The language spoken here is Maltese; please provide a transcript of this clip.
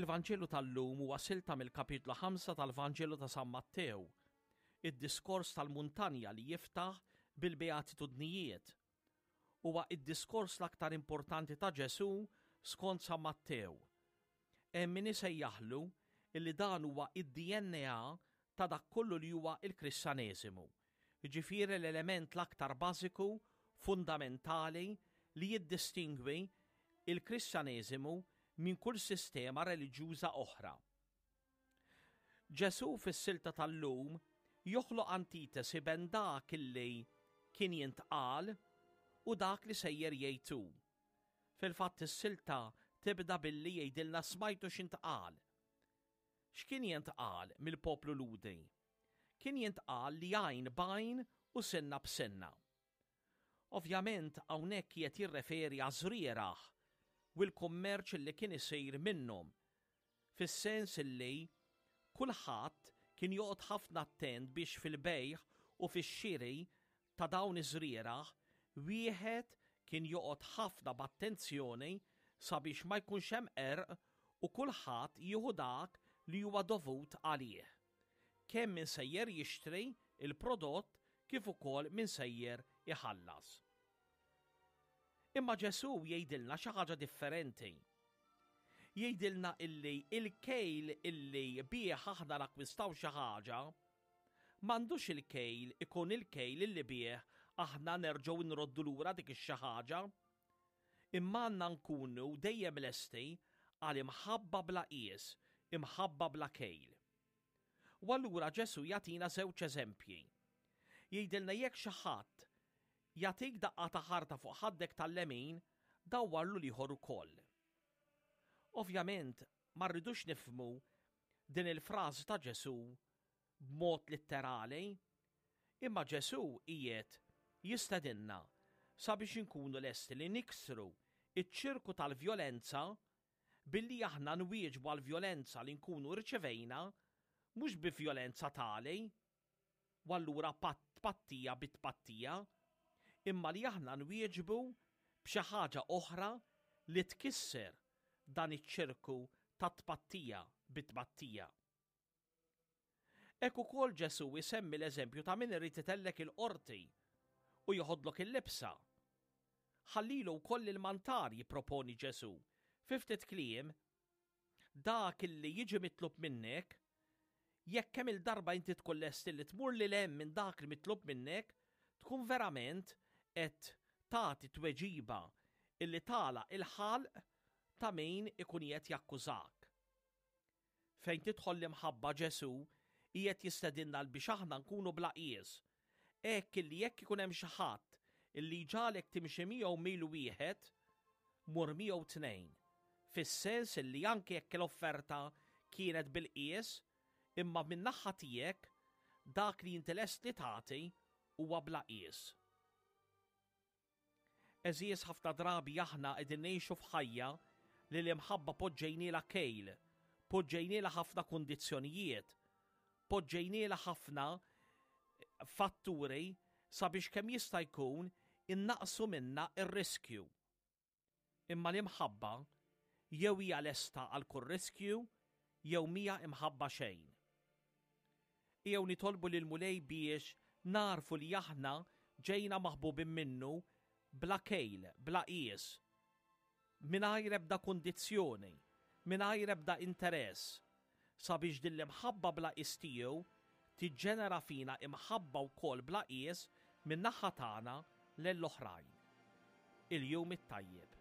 Il-Vanġelu tal-lum huwa silta mill-kapitlu 5 tal-Vanġelu ta' San Mattew, id-diskors tal-muntanja li jiftaħ bil-Beatitudnijiet. Huwa id-diskors l-aktar importanti ta' Ġesù skont San Mattew. Hemm min isejjaħlu illi dan huwa id-DNA ta' dak kollu li huwa il-Kristjaneżimu, jiġifieri l-element l-aktar bażiku, fundamentali li jiddistingwi il-Kristjaneżimu minn kull sistema reliġjuża oħra. Ġesù fis-silta tal-lum joħloq antitesi ben dak illi kien jintqal u dak li sejjer jgħid hu. Fil-fatt is-silta tibda billi jgħidilna smajtu x'intqal. X'kien jintqal mill-poplu Lhudi? Kien jintqal li għajn b'għajn u sinna b'sinna. Ovvjament hawnhekk qiegħed jirreferi għaż-żrieragħ u l-kummerċ li kien isir minnhom, fis-sens li kulħadd kien joqgħod ħafna attent biex fil-bejgħ u fix-xiri ta' dawn iż-żrieragħ wieħed kien joqgħod ħafna b'attenzjoni sabiex ma jkunx hemm qerq u kulħadd jieħu dak li huwa dovut għalih. Kemm min sejjer jixtri l-prodott kif ukoll min sejjer iħallas. Imma Ġesù jgħidilna xi ħaġa differenti. Jgħidilna illi il-kejl illi bih aħna nakkwistaw xi ħaġa m'għandux il-kejl ikun il-kejl illi bih aħna nerġgħu nroddu lura dik ix-xi ħaġa. Imma għandna nkunu dejjem lesti għal imħabba bla qies, imħabba bla kejl. U allura Ġesù jagħtina żewġ eżempji. Jgħidilna jekk xi ħadd jagħtik daqqa ta' ħarta fuq ħaddek tal-lemin, dawwarlu l-ieħor ukoll. Ovvjament ma rridux nifhmu din il-frażi ta' Ġesù b'mod litterali, imma Ġesù qiegħed jistedinna sabiex inkunu lesti li niksru ċ-ċirku tal-vjolenza billi aħna nwieġbu għall-vjolenza li nkunu rċevejna mhux bi vjolenza tali, u allura tpattija bi tpattija, imma li aħna nwieġbu b'xi ħaġa oħra li tkisser dan iċ-ċirku ta' tpattija bi tpattija. Hekk ukoll Ġesù jsemmi l-eżempju ta' min irid itellek il-qorti u joħodlok il-libsa. Ħallilu wkoll il-mantar jipproponi Ġesù. Fi ftit kliem, dak illi jiġi mitlub minnek, jekk kemm il-darba inti tkun lest li tmur lil hemm minn dak li mitlub minnek, tkun verament qed tagħti tweġiba illi tagħlaq il-ħalq ta' min ikun qed jakkużak. Fejn tidħol l-imħabba Ġesù qiegħed jistedinna l biex aħna nkunu bla qies. Hekk illi jekk ikun hemm xi ħadd illi jġagħlek timxi miegħu mil wieħed, mur miegħu tnejn. Fis-sens illi anke jekk l-offerta kienet bil-qies, imma min-naħa tiegħek dak li inti lest li tagħti huwa bla qies. Għeżież ħafna drabi aħna qegħdin ngħixu f'ħajja li l-imħabba poġġejnielha kejl, poġġejnielha ħafna kundizzjonijiet, poġġejnielha ħafna fatturi sabiex kemm jista' jkun innaqqsu minnha r-riskju. Imma l-imħabba jew hija lesta għal kull riskju jew mhija imħabba xejn. Ejjew nitolbu lill-Mulej biex nagħrfu li aħna ġejna maħbubin minnu bla kejl, bla qies, mingħajr ebda kundizzjoni, mingħajr ebda interess, sabiex din l-imħabba bla qies tiegħu tiġġenera fina imħabba wkoll bla qies min-naħa tagħna lejn l-oħrajn. Il-jum it-tajjeb.